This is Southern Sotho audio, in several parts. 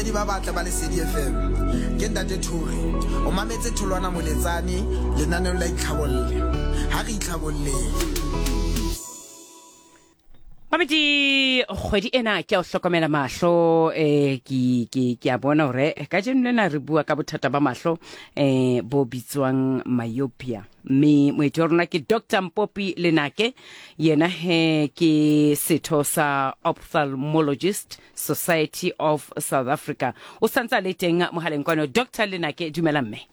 Bamamedi ba batle ba Lesedi FM. Ke Ntate Thuri. O mametse Tholwana Moletsane lenaneong la Itlhabolle. Ha re itlhabolleng. Mamedi kgwedi ena ke a o hlokomela mahlo eh ke ke ke a bona hore kajeno lena re bua ka bothata ba mahlo eh bo bitswang myopia mme moeti wa rona ke Dr Mpopi Lenake yena he ke setho sa ophthalmologist Society of South Africa o santse a le teng mohaleng kwano Dr Lenake dumela mme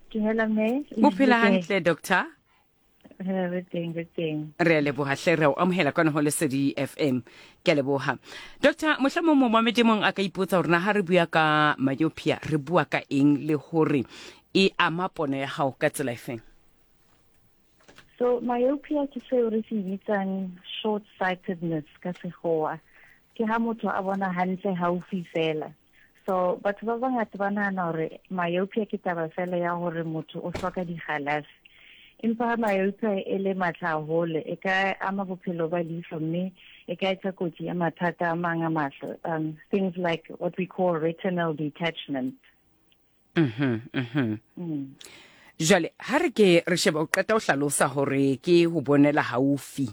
Dumela mme o phela hantle doctor re teng re teng re a leboga hle re a o amohela kwano go lesedi fm ke a leboga doctor mohlomong momamedi mong a ka ipotsa gore na ga re bua ka myopia re bua ka eng le gore e ama pono ya gago ka tsela efeng so myopia ke seo re se bitsang short sightedness ka segoa ke ha motho a bona hantle haufi fela so batho ba bangata ba nahana gore myopia ke taba fela ya gore motho o hloka digalase empa ha myopia e le matla haholo e ka ama bophelo ba leihlo mme e ka etsa kotsi ya mathata a mang a mahlo um, things like what we call retinal detachment mm -hmm, mm. Jwale ha re ke re sheba o qeta o hlalosa hore ke ho bonela haufi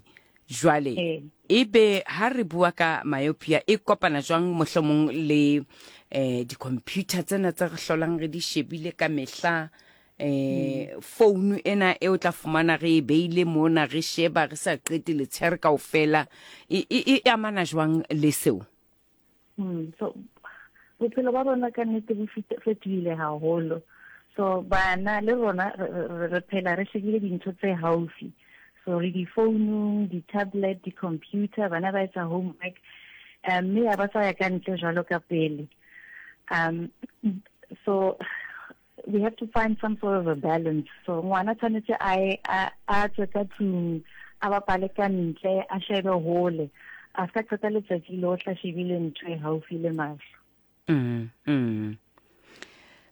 jwale ee. ebe ha re bua ka myopia e kopana jwang mohlomong le eh di-computer tsena tse re hlolang re di shebile ka mehla eh founu ena e o tla fumana re e beile mona re sheba re sa qete letshehare kaofela e e amana jwang le seo Mm, so bophelo ba rona ka nnete bo fetohile haholo so bana le rona re phela re shebile dintho tse haufi so re di-founung di-tablet di-computer bana ba etsa homework um mme ya ba sa ya ka ntle jwalo ka pele um so we have to find some sort of a balance so ngwana tshwanetse a a tswe ka tlung a bapale ka ntle a shebe hole a ska qeta letsatsi lohle a shebile ntho e haufi le mahlo mm, mm.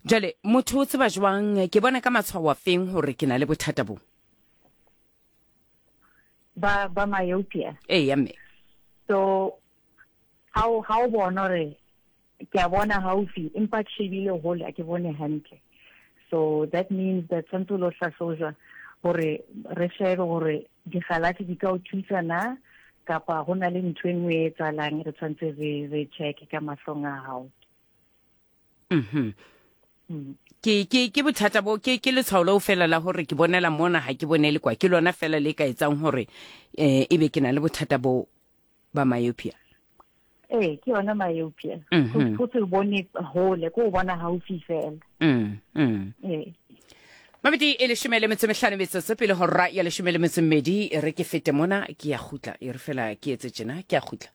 Jwale motho o tseba jwang ke bona ka matshwao a feng hore ke na le bothata bo ba ba myopia ee ya mme so ha o bona hore ke a bona haufi empa ke shebile hole a ke bone hantle so that means that tshwanetse o lo hlahlojwa gore re shebe gore digalase di ka o thusa na kapa go na le ntho e nngwe e etsalang re tshwanetse re re check ka mahlong a gago mm ke ke ke bothata bo ke ke letshwao leo fela la gore ke bonela mona ha ke bonele kwa ke lona fela le ka etsang gore eh ebe ke na le bothata bo ba myopia ee ke yona myopia mhm. go se bone hole ko o bona gaufi fela mm, mm. ee mabedi e leshome le metso mehlano metsotso pele go rra ya leshome le metso mmedi e re ke fete mona ke ya gutla e re fela ke etse tjena ke ya gutla.